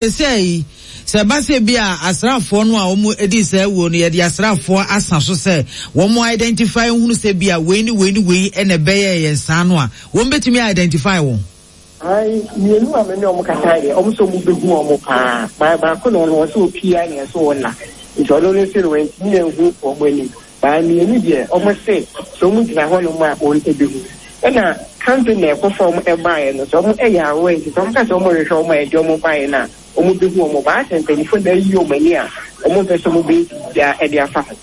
Seesei, sɛ ɛba sɛ ebia asraafoɔ no a wɔdii saa awuo no, yɛde asraafoɔ asa so sɛ wɔn identify nhunu sɛ ebia wei ne wei ne wei na ɛbɛyɛɛ yɛn saa no a, wɔn bɛtumi a identify wɔn? Ae, mmienu a me ne wɔn kasaeɛ deɛ, wɔn sɛ wɔbɛhu wɔn paa. Baa baako na ɔno ɔsɛ ɔpie a na ɛsɛ ɔnna. Nti ɔno no nso no wantumi anhu wɔn anim. Baa mmienu deɛ, wɔn se sɛ wɔn gyina hɔnom a wɔn bɛhu. Ɛna company a ɛkɔfa wɔn baeɛ no, sɛ wɔn yɛ aware nti sɛ wɔn ka sɛ wɔn rehwɛ wɔn a ɛde wɔn baeɛ no a, wɔn bɛhu wɔn. Baa sɛ mpanyinfoɔ na ayi wɔn ani a, wɔn mpɛ sɛ wɔn bɛyɛ biribiara de afa ho.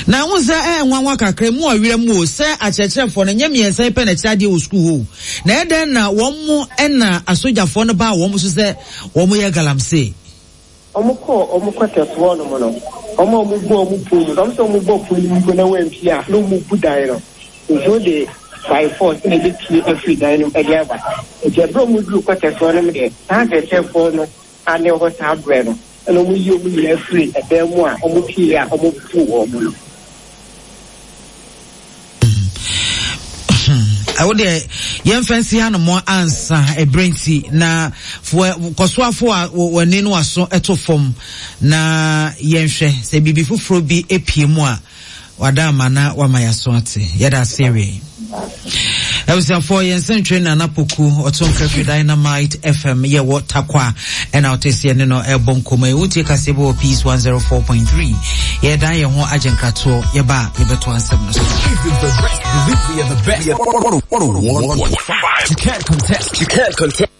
Na wohu sɛ ɛyɛ nwanwa kakra, emu ɔwerɛ mu o, sɛ akyerɛkyerɛfoɔ no, ɛnyɛ mmiɛnsa yi pɛ na ɛkyerɛ adeɛ wɔ sukuu hɔ o. Na ɛyɛ dɛn na wɔn na asogyafoɔ no baa wɔn so sɛ wɔyɛ galamsey? Wɔkɔɔ wɔn quarters hɔ nom no, wɔn a wɔbɔ wɔn pon mu no, wɔn sɛ wɔbɔ pon no mu mpo na wɔampue a, na wɔbu dan no. Nti wode by force na ɛbɛpue afiri dan no mu de aba. Nti ɛberɛ a wɔduruu quarters hɔ nom deɛ, saa akyerɛkyerɛfoɔ no a na ɛwɔ hɔ saa berɛ no, ɛna wɔyii wɔn nyinaa firii ɛdan mu a wɔpueeɛ a wɔbuu wɔn no. Wo deɛ yɛmfa nsi hanom ansa ɛberɛ nti na kɔsoafo a w'ani no aso to fam na yɛnhwɛ sɛ biribi foforɔ bi apue mu a wada ama na wama yɛaso ate. Yɛda ase awie. Abusuafoɔ yɛn nsɛntwerɛ Nana Poku ɔto nka firi Dynamite FM yɛwɔ Takwa ɛna ɔte seɛ ne no ɛbɔ nkɔmmɔ yi. Wotie kaseɛ bɔ wɔ Peace 104.3. Yɛdan yɛn ho agye nkratoɔ yɛba a yɛbɛto asɛm no so. You can't contest. You can't contest.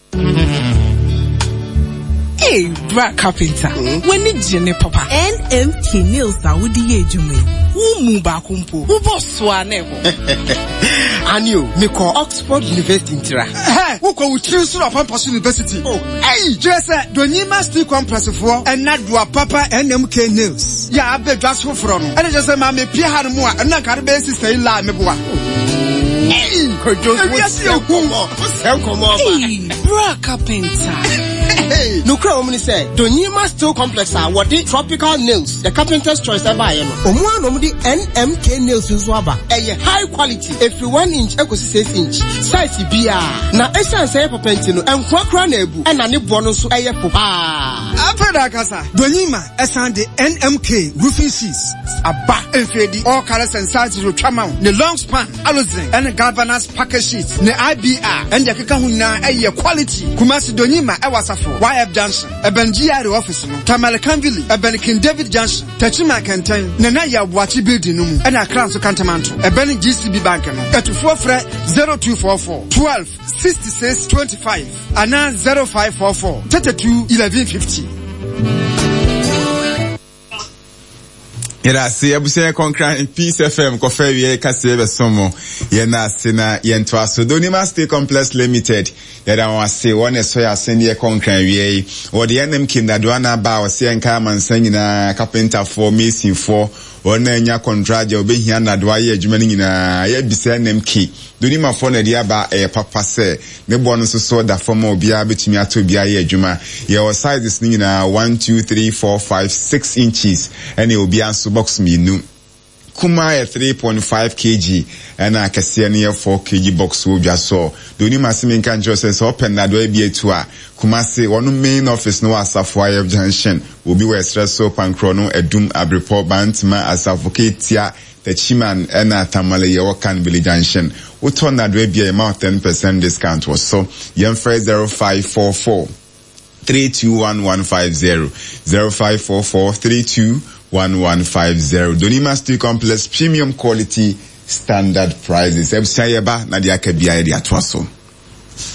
Hey, bra carpenter. Mm? W'ani gye ne papa. NMK nails a wode yɛ adwuma yi. Wo mu baako mpo. Wobɔ so a na ɛbɔ. Ani o, mekɔ Oxford University ntira. Hɛ, wokɔ wo tiri so na ɔpampa so university. Oh, ɛyi, kyerɛ sɛ Donyima Steel Complex foɔ ɛna doa papa NMK nails. Yɛ abɛ dwa so foforɔ no. Ɛna kyerɛ sɛ maame pie ha no mu a, ɛno na nka de bɛyɛ sista yi laa meboa. Ɛyi, ewiase yɛ hu. Hey, bra carpenter. Nokura wɔm ne sɛ Donyima Steel Complex a wɔde Tropical Nails, the carpenter's choice ɛbaeɛ no, wɔn ara na wɔde NMK Nails nso aba. Ɛyɛ high quality, ɛfiri 1 inch ɛkɔsi 6 inch, size biara. Na ɛsiane sɛ ɛyɛ papa nti no, ɛnkoa koraa na abu, ɛna ne boɔ no nso ɛyɛ fo paa. Afei na akasa, Donyima ɛsan de NMK roofing sheets aba. Mfeedi, all colors and sizes otwa ma wo, ne long span. Alozin ɛne Galvanized Package Sheets ne IBR ɛne deɛ ɛkeka ho nyinaa ɛyɛ quality. Kumasi Donyima ɛwɔ Asafo YF Junction, ɛbɛn GRA office no, Tamale Kanvili ɛbɛn King David Junction, Techiman Kɛntɛn, Nana Yaw Boakye Building no mu ɛne Accra nso Kantamanto ɛbɛn GCB Bank no. Atufoɔ frɛ 0244 12 66 25 anaa 0544 32 11 50. Yɛda ase abusua yɛ kɔnkran Peace FM kɔfɛ awie kaseɛ bɛso mo. Yɛn ase na yɛntoa so. Donima Stay Complex Limited yɛda wɔn ase wɔn na ɛsɔ yɛ asen deɛ kɔnkran awie yi. Wɔde NMK nnadoa na aba a wɔsɛ yɛnka amansan nyinaa kapentafoɔ, masonfoɔ, wɔn a anya kɔntragye a wɔbɛhia nnadoa ayɛ adwuma no nyinaa yɛabisa NMK. Donimafoɔ na ɛde aba ɛyɛ papa sɛ Ne boɔ no nso so da fam a obiara bɛtumi atɔ bi ayɛ adwuma. Yɛwɔ sizes no nyinaa, one, two, three, four, five, six inches ɛne obiara nso box mmienu. Kumaa yɛ 3.5 kg ɛna akɛseɛ no yɛ 4 kg box wɔ dwa soɔ. Deɛ onim ase menka nkyerɛ wo sɛ sɛ wopɛ nnadewa bi atu a, Kumasi, wɔn main office no wɔ Asafo Ayef Junction. Obi wɔ Ɛserɛ so, Pankrɔno, Adum, Abrepɔ, Bantama, Asafo, Ketia, Techiman ɛna Tamale yɛwɔ Kan Village Junction. Wotɔ nnadewa bi a yɛma wo ten percent discount wɔ so. Yɛmfrɛ 0544 321150, 0544 321150. Donima Steel Complex, premium quality, standard prices. Abusua yɛba na deɛ aka biara yɛde atoa so.